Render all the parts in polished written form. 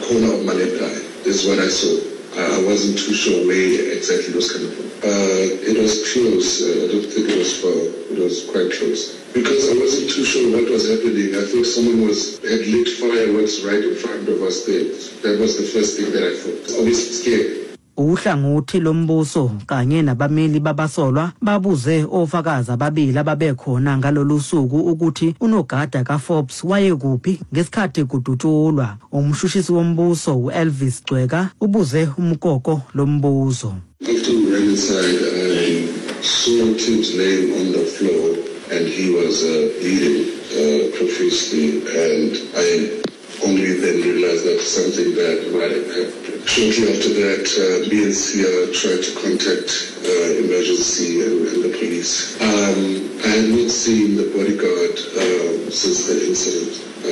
corner of my left eye. This is what I saw. I, I wasn't too sure where exactly it was coming from. Uh, it was close. Uh, I don't think it was far. It was quite close. Because I wasn't too sure what was happening. I thought someone was had lit fireworks right in front of us there. That was the first thing that I thought. Obviously scared. Uhlangothi lombuso kanye nabameli babasolwa babuze ofakazi ababili ababekhona ngalolu suku ukuthi unogada kaForbes wayekuphi ngesikhathi kudutshulwa. Umshushisi wombuso u-Elvis Gcweka ubuze uMukoko lo mbuzo. After we ran inside, I saw Tibbs laying on the floor and he was uh, bleeding uh, profusely and I only then realized that something bad might have happened. Shortly after that, uh, me and Sia tried to contact uh, emergency and, and the police. Um, I had not seen the bodyguard uh, since the incident. I, I,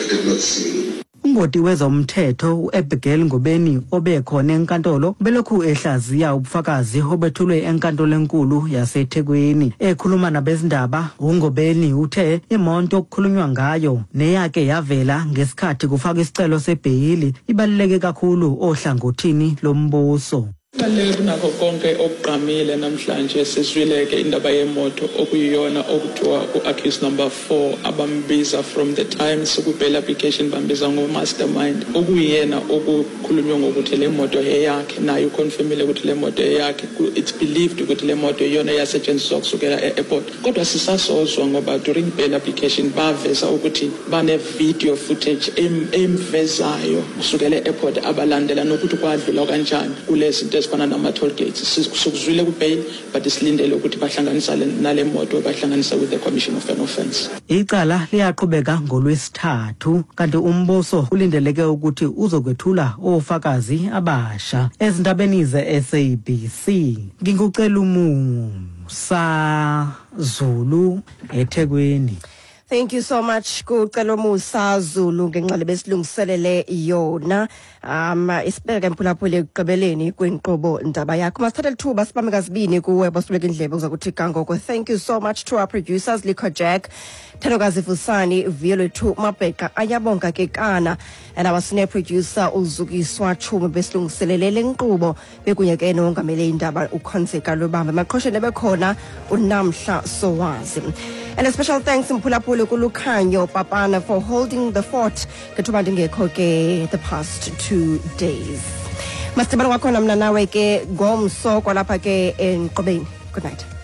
I did not see him. Ungoti wezomthetho uAbigail Ngobeni obekhona enkantolo belokhu ehlaziya ubufakazi obethulwe enkantolo enkulu yaseThekwini. Ekhuluma nabezindaba uNgobeni uthe imoto okukhulunywa ngayo neyake yavela ngesikhathi kufakwa isicelo sebheyili ibaluleke kakhulu ohlangothini lombuso. Kubaluleke kunakho konke okugqamile namhlanje sizwile-ke indaba yemoto okuyiyona okuthiwa u-accused number 4 abambiza from the time siku-bail application bambiza ngo-mastermind okuyiyena okukhulunywe ngokuthi le moto eyakhe naye uconfirmile ukuthi le moto eyakhe it's believed ukuthi le moto iyona eyasetshenziswa kusukela e-airport kodwa sisasozwa ngoba during bail application baveza ukuthi bane-video footage emvezayo kusukela e-airport abalandela nokuthi kwadlulwa kanjani kulezi zinto ezifana nama-toll gates sikuzwile ku-bail but silindele ukuthi bahlanganisa nale moto bahlanganisa with the commission of an offence. Icala liyaqhubeka ngolwesithathu kanti umbuso ulindeleke ukuthi uzokwethula ofakazi abasha. Ezindabeni ze-SABC ngingucela umusa Zulu eThekwini. Thank you so much kucela Musa Zulu ngenxa besilungiselele yona. Um isibeke mphulaphuli ekugqibeleni kwenkqubo ndaba yakho. Masithathe lithuba sibambe kazibini kuwe bosibeka indlebe uza kuthi kangoko. Thank you so much to our producers Likho Jack, Thanokazi Fusani, Violethu Mabheka, Ayabonga Kekana and our senior producer uZukiswa Chuma besilungiselele le nkqubo bekunye ke nongamele indaba uKhonzeka Lubambe. Maqhosheni bekhona uNamhla Sowazi. And a special thanks mphulaphuli kuLukhanyo Papana for holding the fort ngethuba ndingekho ke the past 2 days. Masidibane kwakhona mna nawe ke ngomso kwalapha ke enkqubeni. Good night.